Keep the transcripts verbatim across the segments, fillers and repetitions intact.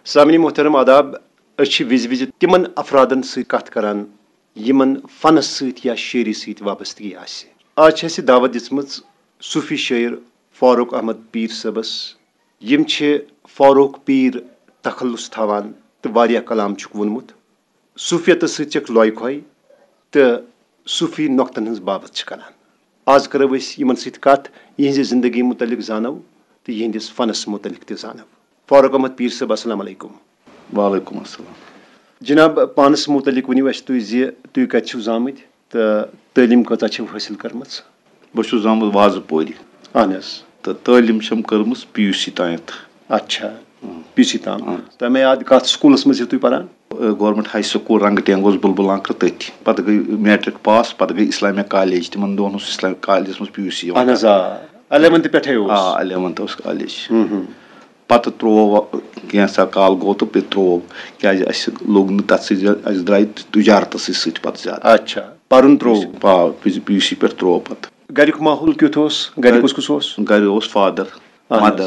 سامعین محترم، آداب۔ أسۍ چھِ وِزِ وِزِ تِمن افرادن سۭتۍ کتھ کران، یِمن فنس سۭتۍ یا شٲعری سۭتۍ وابستگی آسہِ۔ آز چھِ اَسہِ دعوت دِژمٕژ صوٗفی شٲعر فاروق احمد پیٖر صٲبس۔ یِم چھِ فاروق پیٖر تخلص تھاوان تہٕ واریاہ کلام چھُکھ ووٚنمُت۔ صوٗفیتس سۭتۍ چھکھ لۄے کھۄے تہٕ صوٗفی نۄقطن ہٕنٛز باوتھ چھِ کران۔ آز کرو أسۍ یِمن سۭتۍ کتھ، یِہنٛزِ زندگی متعلق زانو تہٕ یِہنٛدِس فنس متعلق تہِ زانو۔ فاروق احمد پیٖر صٲب، السلام علیکم۔ وعلیکم السلام۔ جناب، پانس متعلق ؤنِو اَسہِ تُہۍ زِ تُہۍ کتہِ چھِو زامٕتۍ تہٕ تعلیٖم کۭژاہ چھِو حٲصِل کٔرمٕژ؟ بہٕ چھُس زامُت وازٕ پورِ۔ اہن حظ۔ تہٕ تعلیٖم چھم کٔرمٕژ پی یوٗ سی تامَتھ۔ اچھا، پی سی تام۔ تۄہہِ مےٚ یاد، کتھ سکوٗلس منٛز چھِو تُہۍ پران؟ گورنمنٹ ہاے سکوٗل رنگہٕ ٹینگ اوس بُلبُل آنکرٕ تٔتھۍ۔ پتہٕ گٔے میٹرک پاس، پتہٕ گٔے اسلامیا کالج۔ تِمن دۄہن اوس اسلامیا کالجس منٛز پی یوٗ سی یِوان۔ اہن حظ، آ۔ الیونتھ پٮ۪ٹھے اوس۔ آ، الیونتھ اوس کالج۔ پتہٕ ترٛوو وۄنۍ کینٛژھا کال گوٚو تہٕ پتہٕ ترٛوو، کیازِ اسہِ لوٚگ نہٕ تتھ سۭتۍ زیادٕ، اسہِ درٛاے تجارتس سۭتۍ پتہٕ زیادٕ۔ اچھا، پرُن ترٛوو۔ آ، پی یوٗ سی پٮ۪ٹھ ترٛوو پتہٕ۔ گریُک ماحول کیُتھ اوس؟ گرِ کُس کُس اوس؟ گرِ اوس فادر، اہن حظ۔ مدر،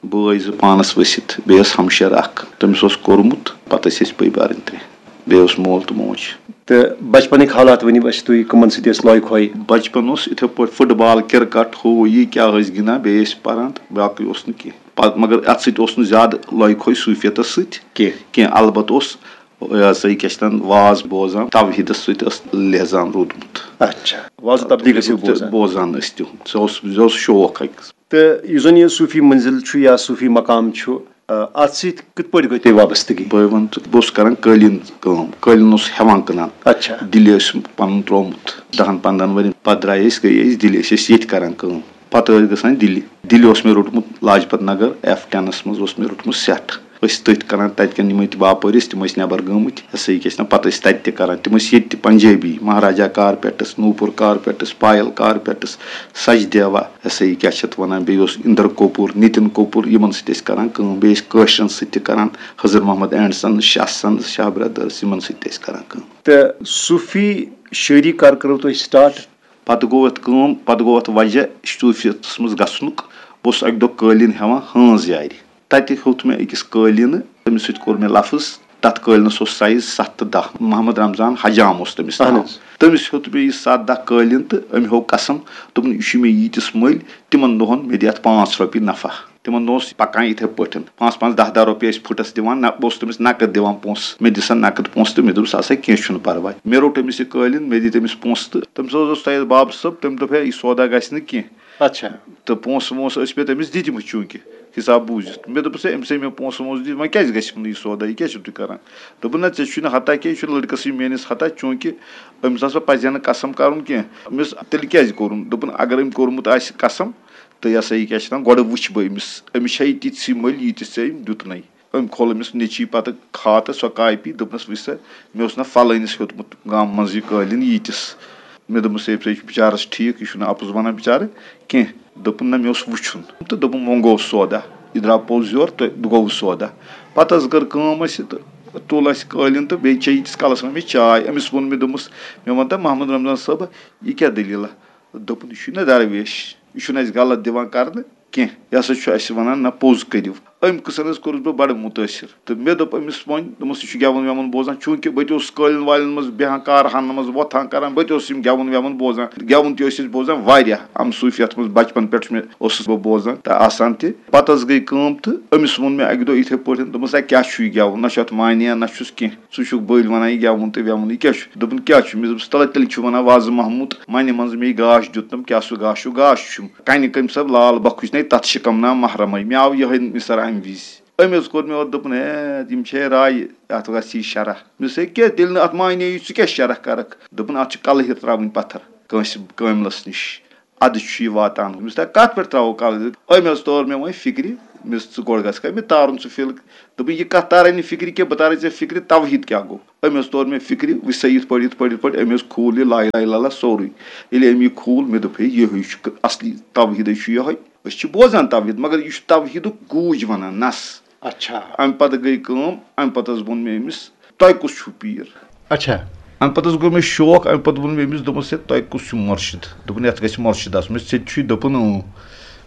بٲے زٕ پانس ؤسِتھ، بیٚیہِ ٲس ہمشیر اکھ، تٔمِس اوس کوٚرمُت، پتہٕ ٲسۍ أسۍ بٔے بارٕنۍ ترٛےٚ، بیٚیہِ اوس مول تہٕ موج۔ تہٕ بچپنٕکۍ حالات ؤنِو اَسہِ تُہۍ، کٕمن سۭتۍ ٲسۍ لۄے کھۄے؟ بچپن اوس یِتھے پٲٹھۍ فٹ بال، کرکٹ، ہُہ یہِ کیٛاہ ٲسۍ گِنٛدان، بیٚیہِ ٲسۍ پران تہٕ باقٕے اوس نہٕ کینٛہہ۔ پتہٕ مگر اتھ سۭتۍ اوس نہٕ زیادٕ لۄے کھۄے صوٗفیتس سۭتۍ کینٛہہ۔ کینٛہہ، البتہٕ اوس یہِ ہسا یہِ کیٛاہ چھِ اتھ ناو، واز بوزان، توحیٖدس سۭتۍ ٲس لیزان روٗدمُت۔ اچھا، واز و تبلیغ ٲسِو بوزان؟ بوزان ٲسۍ تِہُنٛد، سُہ اوس، سُہ اوس شوق أکِس۔ تہٕ یُس زن یہِ صوٗفی منزل چھُ یا صوٗفی مقام چھُ، آ، اتھ سۭتۍ کِتھ پٲٹھۍ گٔے تۄہہِ وابستگی؟ بہٕ وَنہٕ تہٕ بہٕ اوسُس کران قٲلیٖن کٲم، قٲلیٖن اوسُس ہٮ۪وان کٕنان۔ اچھا۔ دِلہِ اوس پَنُن ترٛوومُت دَہَن پنٛدہَن ؤرِین۔ پَتہٕ درٛایہِ أسۍ، گٔیے أسۍ دِلہِ، أسۍ ٲسۍ ییٚتہِ کران کٲم۔ پَتہٕ ٲسۍ گژھان دِلہِ۔ دِلہِ اوس مےٚ روٚٹمُت لاجپت نگر ایف ٹینَس منٛز اوس مےٚ روٚٹمُت سٮ۪ٹ۔ أسۍ تٔتھۍ کران، تَتہِ کٮ۪ن یِمَے تہِ باپٲرۍ ٲسۍ، تِم ٲسۍ نٮ۪بر گٔمٕتۍ، ہسا یہِ کیٛاہ چھِ ناو، پَتہٕ ٲسۍ تَتہِ تہِ کران۔ تِم ٲسۍ ییٚتہِ تہِ پنجٲبی، مہاراجا کارپیٹس، نوٗپُر کارپیٹس، پایل کارپیٹس، سچدیوا، ہسا یہِ کیٛاہ چھِ اَتھ وَنان، بیٚیہِ اوس اِندر کپوٗر، نِتِن کپوٗر، یِمن سۭتۍ ٲسۍ کران کٲم۔ بیٚیہِ ٲسۍ کٲشرٮ۪ن سۭتۍ تہِ کران، خضر محمد اینڈ سنز، شاہ سنز، شاہ برادرز، یِمن سۭتۍ تہِ ٲسۍ کران کٲم۔ تہٕ صوٗفی شٲعری کر کٔرٕو تۄہہِ سٹارٹ؟ پتہٕ گوٚو اَتھ کٲم، پتہٕ گوٚو اَتھ وجہ صوٗفیتس منٛز گژھنُک۔ بہٕ اوسُس اَکہِ دۄہ قٲلیٖن ہٮ۪وان ہٲنز یارِ۔ تَتہِ ہیوٚت مےٚ أکِس قٲلیٖنہٕ، تٔمِس سۭتۍ کوٚر مےٚ لفظ۔ تَتھ قٲلیٖنَس اوس سایز ستھ تہٕ دَہ۔ محمد رمضان حجام اوس تٔمِس اہن ناو۔ حظ۔ تٔمِس ہیوٚت مےٚ یہِ ستھ دَہ قٲلیٖن تہٕ أمۍ ہوو قسم، دوٚپُن، "یہِ چھُ مےٚ ییٖتِس مٔلۍ، تِمن دۄہن مےٚ دِ اَتھ پانٛژھ رۄپیہِ نفع۔" تِمن دۄہن اوس پکان یِتھے پٲٹھۍ، پانٛژھ پانٛژھ، دَہ دَہ رۄپیہِ ٲسۍ فُٹس دِوان، نہ، بہٕ اوسُس تٔمِس نقد دِوان پونٛسہٕ، مےٚ دِ سا نقد پونٛسہٕ تہٕ مےٚ دوٚپُس، "ہسا کینٛہہ چھُنہٕ پرواے۔" مےٚ روٚٹ أمِس یہِ قٲلیٖن، مےٚ دِتۍ أمِس پونٛسہٕ تہٕ تٔمِس اوس تۄہہِ بابہٕ صٲب، تٔمۍ دوٚپ، "ہے، یہِ سودا گژھِ نہٕ کینٛہہ۔" اچھا۔ تہٕ پونٛسہٕ وونٛسہٕ ٲسۍ مےٚ تٔمِس دِتمٕتۍ چوٗنٛکہِ حِساب بوٗزِتھ۔ مےٚ دوٚپُس، "ہے، أمِس ہے مےٚ پونٛسہٕ وونٛسہٕ دِتۍ، وۄنۍ کیٛازِ گژھِ نہٕ یہِ سودا؟ یہِ کیٛازِ چھُو تُہۍ کران؟" دوٚپُن، "نہ، ژےٚ چھُے نہٕ ہتا کینٛہہ، یہِ چھُنہٕ لٔڑکَسٕے میٛٲنِس ہتا، چوٗنٛکہِ أمِس ہسا پَزِ ہا نہٕ قسم کَرُن کینٛہہ۔" أمِس تیٚلہِ کیٛازِ کوٚرُن؟ دوٚپُن، "اگر أمۍ کوٚرمُت آسہِ قسم، تہٕ یہِ ہسا یہِ کیٛاہ چھِ وَنان، گۄڈٕ وٕچھِ بہٕ أمِس، أمِس چھا یہِ تِژھٕے مٔلۍ، ییٖتِس ژےٚ أمۍ دیُتنَے۔" أمۍ کھول أمِس نیٚچی پَتہٕ کھاتہٕ سۄ کاپی، دوٚپنَس، "وٕچھ سا، مےٚ اوس نہ فلٲنِس ہیوٚتمُت گامہٕ منٛز یہِ قٲلیٖن ییٖتِس۔" مےٚ دوٚپمَس، "ہے، ژٕ ہے چھُکھ بِچارَس ٹھیٖک، یہِ چھُنہٕ اَپُز وَنان بِچارٕ کینٛہہ۔" دوٚپُن، "نہ، مےٚ اوس وٕچھُن۔" تہٕ دوٚپُن، "وۄنۍ گوٚو سودا، یہِ درٛاو پوٚز یورٕ تہٕ گوٚو سودا۔" پَتہٕ حظ کٔر کٲم اَسہِ تہٕ تُل اَسہِ قٲلیٖن تہٕ بیٚیہِ چے ییٖتِس کالَس وۄنۍ مےٚ چاے۔ أمِس ووٚن مےٚ، دوٚپمَس، مےٚ وَن تہٕ محمد رمضان صٲبہ، یہِ کیٛاہ دٔلیٖلہ؟ دوٚپُن، "یہِ چھُے نہ درویش، یہِ چھُنہٕ اَسہِ غلط دِوان کرنہٕ کینٛہہ، یہِ ہسا چھُ اَسہِ وَنان نہ پوٚز کٔرِو۔" اَمہِ قٕصن حظ کوٚرُس بہٕ بَڑٕ مُتٲثِر۔ تہٕ مےٚ دوٚپ أمِس وۄنۍ، دوٚپمَس، "یہِ چھُ گٮ۪وُن وٮ۪وُن بوزان۔" چوٗنٛکہِ بہٕ تہِ اوسُس قٲلیٖن والٮ۪ن منٛز بیٚہان، کارخانن منٛز وۄتھان کران، بہٕ تہِ اوسُس یِم گٮ۪وُن وٮ۪وُن بوزان۔ گٮ۪وُن تہِ ٲسۍ أسۍ بوزان واریاہ، اَمہٕ صوٗفیت منٛز بَچپَن پٮ۪ٹھ چھُ مےٚ، اوسُس بہٕ بوزان تہٕ آسان تہِ۔ پَتہٕ حظ گٔے کٲم تہٕ أمِس ووٚن مےٚ اَکہِ دۄہ یِتھَے پٲٹھۍ، دوٚپمَس، "ہے، کیٛاہ چھُ یہِ گٮ۪وُن؟ نہ چھُ اَتھ معنی، نہ چھُس کینٛہہ۔" ژٕ چھُکھ بٔلۍ وَنان یہِ گٮ۪وُن تہٕ وٮ۪وُن، یہِ کیٛاہ چھُ؟ دوٚپُن، "کیٛاہ چھُ؟" مےٚ دوٚپُس، "تَلہ تیٚلہِ چھُ وَنان وازٕ محموٗد، مَنہِ منٛز مے گاش دیُتنَم، کیٛاہ سُہ گاش چھُ؟ گاش چھُم۔" کَنہِ کٔمۍ سَب لال بَخُش نے تَتھ شِکَم نا محرمَے۔ مےٚ آو یِہوٚے مِثر اَمہِ وِزِ۔ أمۍ حظ کوٚر مےٚ اورٕ، دوٚپُن، "ہے، یِم چھے رایہِ، اَتھ گژھِ یہِ شرح۔" مےٚ دوٚپُس، "ہے، کیٛاہ تیٚلہِ نہٕ اَتھ معنی یی، ژٕ کیٛاہ شرح کَرَکھ؟" دوٚپُن، "اَتھ چھِ کَلہٕ ہِتھ ترٛاوٕنۍ پَتھر کٲنٛسہِ کٲملَس نِش۔" اَدٕ چھُ یہِ واتان۔ مےٚ دوٚپُس، "تۄہہِ کَتھ پٮ۪ٹھ ترٛاوو کَلہٕ؟" أمۍ حظ توٚر مےٚ وۄنۍ فِکرِ، مےٚ دوٚپُس، "ژٕ گۄڈٕ گژھکھ مےٚ تارُن سُہ فِلک۔" دوٚپُن، "یہِ کَتھ تارے نہٕ فِکرِ کینٛہہ، بہٕ تارے ژےٚ فِکرِ توحیٖد کیٛاہ گوٚو؟" أمۍ حظ توٚر مےٚ فِکرِ، وٕچھ سا یِتھ پٲٹھۍ، یِتھ پٲٹھۍ، یِتھ پٲٹھۍ۔ أمۍ حظ کھوٗل یہِ لا اله الا اللہ سورُے۔ ییٚلہِ أمۍ یہِ کھوٗل، مےٚ دوٚپ، "ہے، یِہوٚے چھُ اَصلی توحیٖدٕے چھُ یِہوٚے۔ أسۍ چھِ بوزان توحیٖد، مگر یہِ چھُ توحیٖدُک گوٗج وَنان، نَس۔" اچھا۔ اَمہِ پَتہٕ گٔے کٲم، اَمہِ پَتہٕ حظ ووٚن مےٚ أمِس، "تۄہہِ کُس چھُو پیٖر؟" اچھا۔ اَمہِ پَتہٕ حظ گوٚو مےٚ شوق، اَمہِ پَتہٕ ووٚن مےٚ أمِس، دوٚپمَس، "ہے، تۄہہِ کُس چھُو مُرشِد؟" دوٚپُن، "یَتھ گژھِ مُرشِد آسُن۔" مےٚ دوٚپُس، "ژےٚ تہِ چھُے؟" دوٚپُن، "اۭں۔"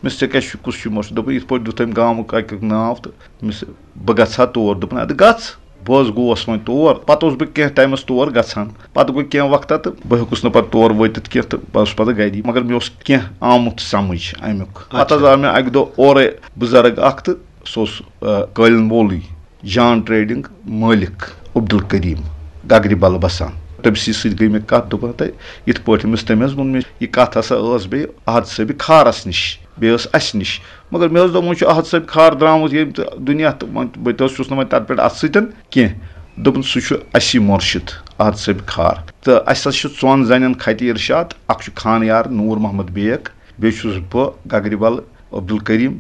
مےٚ ووٚنُس، "ژےٚ کیٛاہ چھُ، کُس چھُے مُرشِد؟" دوٚپُن، "یِتھ پٲٹھۍ دیُت أمۍ گامُک اَکیُک ناو تہٕ مےٚ ووٚنُس، بہٕ گژھٕ ہا تور۔" دوٚپُن، "اَدٕ گژھ۔" بہٕ حظ گوس وۄنۍ تور۔ پَتہٕ اوسُس بہٕ کینٛہہ ٹایمَس تور گژھان۔ پَتہٕ گوٚو کینٛہہ وقتہ تہٕ بہٕ ہیوٚکُس نہٕ پَتہٕ تور وٲتِتھ کینٛہہ تہٕ بہٕ اوسُس پَتہٕ گَری۔ مگر مےٚ اوس کینٛہہ آمُت سَمٕجھ اَمیُک۔ پَتہٕ حظ اچھا۔ آو مےٚ اَکہِ دۄہ اورَے بُزرگ اَکھ تہٕ سُہ اوس، آ، قٲلیٖن وولٕے، جان ٹریڈنگ مٲلِک عبدالکریم گگرِ بَلہٕ بَسان۔ تٔمۍ سٕے سۭتۍ گٔے مےٚ کَتھ، دوٚپُن، "تہٕ یِتھ پٲٹھۍ أمِس تٔمۍ حظ ووٚن مےٚ، یہِ کَتھ ہسا ٲس بیٚیہِ احد صٲبِ کھارَس نِش، بیٚیہِ ٲس اَسہِ نِش۔ مگر مےٚ حظ دوٚپ، وۄنۍ چھُ احد صٲبِ کھار درٛامُت ییٚمہِ تہٕ دُنیا تہٕ وۄنۍ بہٕ تہِ حظ چھُس نہٕ وۄنۍ تَتھ پٮ۪ٹھ اَتھٕ سۭتۍ کینٛہہ۔" دوٚپُن، "سُہ چھُ اَسی مُرشِد احد صٲبِ کھار۔ تہٕ اَسہِ حظ چھِ ژۄن زَنٮ۪ن خطِ ارشاد، اَکھ چھُ خان یار نوٗر محمد بیگ، بیٚیہِ چھُس بہٕ گگرِ بَلہٕ عبدالکریم۔"